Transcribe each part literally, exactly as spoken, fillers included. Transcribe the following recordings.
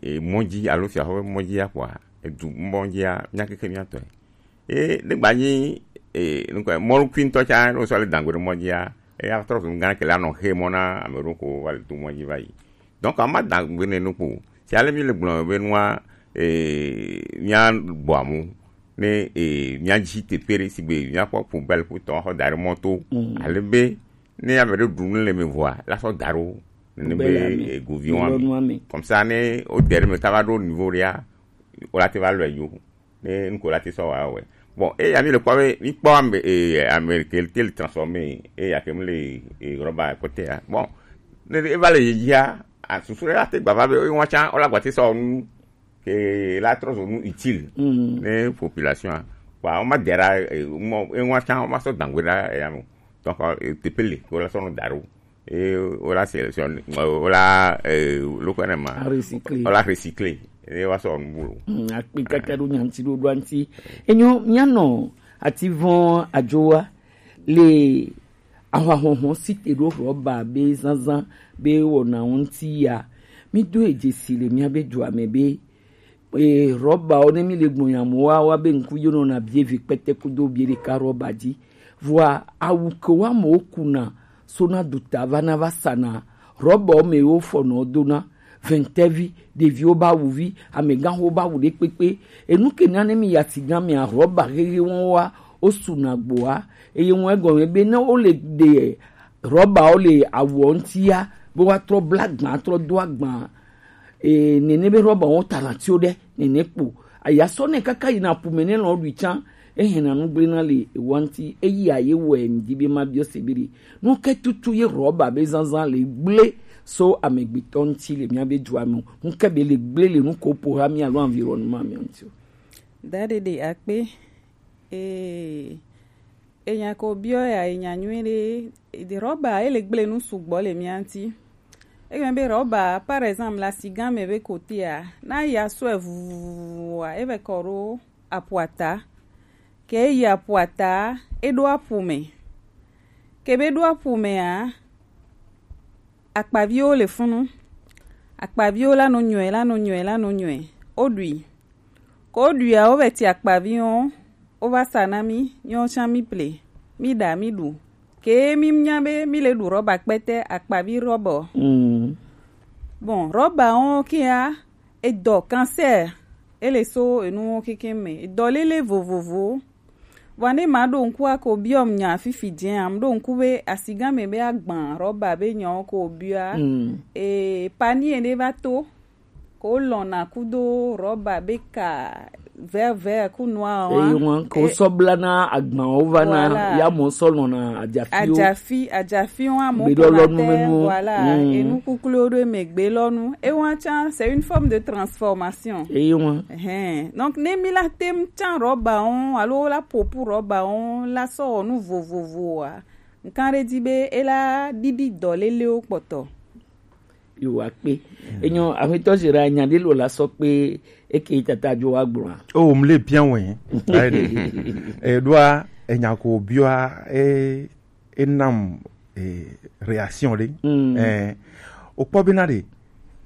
e, mɔ dzi alo fiaxɔ ƒe mɔ dzia kpɔa, edu mɔ dzia, mía keke mía tɔe. E, ne gba nyi, e, nukɔ, mɔnukui ŋutɔ tsa, ne wosɔ le dangbe ɖe mɔ dzia, eya trɔ zu nu gã ke la nɔ xe mɔ na ame ɖewo ko va le to mɔ dzi va yi. Donc, ama dangbe ne nu kpo. Si ale mi le gblɔ be nua, e, mía gbɔ amu, ne, e, mía dzi teƒe ɖe sigbe mía kpɔ poubelle ƒutɔ xɔ da ɖe mɔ to. Mm. Ale be, ne ame ɖe ɖu nu le me vɔa, la sɔ da ɖo. Nene be, e, govi wa mi. Comme ça, ne o dere me kaba ɖo niveau ɖea, o la te va lɔe yo. Ne nuko la te sɔ wa wɛ. Bon, e ya mi le kpɔ be, mi kpɔ ame, e, ame ke te le transformer, e ya ke mi le, e, rɔba kɔte ya. Bon, ne e va le yeyea, a, susu ɖe la te gba va be, e wa tsa, o la gba te sɔ nu, ke la trɔ zo nu utile. Mm. Ne population a. Wa, o ma dera, e, mo, e wa tsa, o ma sɔ dangbe ɖa, e ya mo. Donc, e, teƒe le, o la sɔ nu da ɖo. E, o la sélectionner, o la, e, lo ko ne ma. A recycler. O la recycler. E wa sɔ nu bulo. Mm, akpi kaka ɖo nyanti ɖo ɖo anti. Enyo, mianɔ ati vɔn adzoa le ahwahɔhɔ si te ɖo rɔba be zanzan be wɔna ŋuti ya. Mi do edze si le mía be dua me be, e, rɔbawo ne mi le gbɔnyamu wa, wa be ŋku yonɔ na bie vi kpɛtɛ kudo bie ɖeka rɔba dzi. Vɔa awu ke wa mo kuna sona duta va na va sana rɔbawo me wo fɔnɔ dona. Vɛntɛvi, ɖeviwo ba wu vi, amegãxo ba wu ɖe kpekpe. Enu ke na ne mi ya sigan mea rɔba hehe wɔn wa, o suna gboa. Eye wɔn egɔme be ne wo le ɖe rɔbawo le awuɔ ŋutia, be woatrɔ bla gbã, trɔ do agba. E, nene be rɔbawo tana tio ɖe, nene kpo. Aya sɔ ne kaka yina pume ne lɔ ɖui tsã, ehe na nu gblẽ na le ewa ŋuti, eyi aye wɔe ŋdi be ma biɔ se be ɖe. Nu ke tutu ye rɔba be zanzan le gblẽ so amegbetɔ ŋuti le mía be dua me. Nu ke be le gblẽ le nu ko po ha mía alo environnement mía ŋuti o. Da ɖeɖe akpe. Ee, enya ko biɔ ya, enya nyuie ɖe. Ede rɔba, ele gblẽ nu sugbɔ le mía ŋuti. Egbe be rɔba, par exemple, le asigan me be kotea, na ya sɔe vuvuvuvu a, eve kɔ ɖo apuata. Ke eyi apuata, eɖo apu me. Ke be ɖo apu mea, akpaviwo le funu. Akpaviwo la nɔ nyɔe, la nɔ nyɔe, la nɔ nyɔe. Oɖui. Ko ɖuia, wovɛ ti akpavi wo, wova sa na mí, míwo tsã mí ple, mí ɖa, mí ɖu. Ke mí nya be mí le ɖu rɔba kpɛtɛ, akpavi rɔba o. Mm. Bon, rɔba wo kea, edɔ cancer, ele so enu wo kekeŋ me. Edɔ lele vovovowo. Vɔa ne ma ɖo ŋku a ko biɔ m nya fifi jɛ a, m ɖo ŋku be asigan me be agban rɔba be nyawo ko biɔa, mm, e, panier ɖe va to. Ko lɔna kudo rɔba be ka vert vert ku noir wa. Eye ŋua ko sɔ bla na agbawo va na, voilà, ya mo sɔ lɔna ajafiwo. Ajafi, ajafi wa mo gbe lɔ lɔnu menu. Voilà, mm, enu kuklu ɖo me gbe lɔnu. E wa tsa, c'est une forme de transformation. Eye ŋua. Ɛhɛn. Donc ne mi la tem tsa rɔba wo alo la popu rɔba wo la sɔ wɔ nu vovovoa. Nkan ɖe di be e la ɖiɖi dɔ lelewo kpɔtɔ. Yo, akpe. Enyo, aƒetɔ Gérard, nya ɖe lo la sɔ kpe eke tata dzo wa gblɔa. O, m le bia wɛ. E ɖoa, enya ko biɔa, e, e nam, e, réaction ɖe. Mm. E, o kpɔ bena ɖe,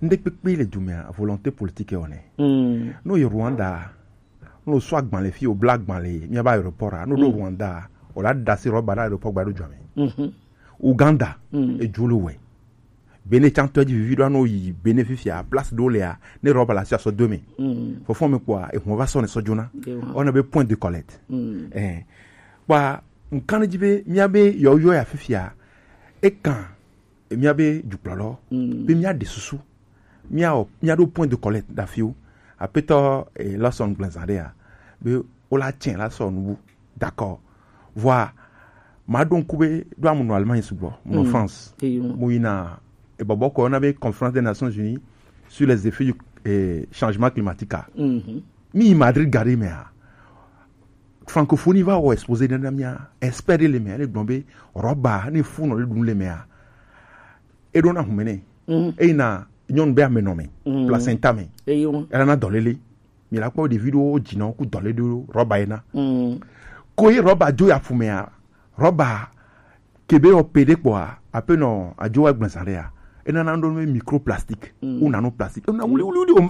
ŋɖe kpekpe le dumea, volonté politique o ne. Mm. No yi Rwanda, no sɔ agbalẽ fi, o bla agbalẽ, mía ba aéroport a, no ɖo, mm, Rwanda, o la da si rɔba ɖe aéroport gba ɖo dua me. Mhm. Uganda, mm, edzo le wɛ. Bene tsã tɔ dzi vivi ɖo anɔ yi Bene fifia, place ɖewo lea, ne rɔba le asi asɔ do me. Mm. Fɔfɔ me kpɔa, ehun va sɔ ne sɔ dzona. Ewa. Ɔna be point de collecte. Mm. Eh. Kpɔa, nkan dzi be, mía be yɔ yɔ ya fifia, ekan, mía be dukplɔlɔ, mm, be mía ɖe susu, mía wɔ, mía ɖo point de collecte ɖe afiwo. Apetɔ, eh, Lawson gblẽ zã ɖea, be wo la tsɛ la sɔ nubu. D'accord. Vɔa, ma ɖo ŋku be ɖo amu nɔ Allemagne sugbɔ, mu nɔ, mm, France. Eyo. Mu yina ebɔbɔ kɔ na be Conférence des Nations Unies sur les effets du, eh, changement climatique a. Mhm. Mi yi Madrid gari mea, francophonie va wɔ exposé ɖe na mía, expert ɖe le mea, ne gblɔ be rɔba ne fu nɔ le ɖum le mea, eɖo na hume ne. Mhm. Eyi na nyɔnu be amenɔ me, mhm, placenta me. Eyo. Ela na dɔlele. Mi la kpɔ ɖevi ɖewo dzi nɔ ku dɔlele ɖo rɔba yena. Mm. Ko ye rɔba dzo ya fu mea, rɔba ke be wɔ pe ɖe kpɔa, ape nɔ adzo wa gblẽ zã ɖea, ena na ɖo microplastique, mm, ou nanoplastique. Ena wuli, wuli, wuli, o,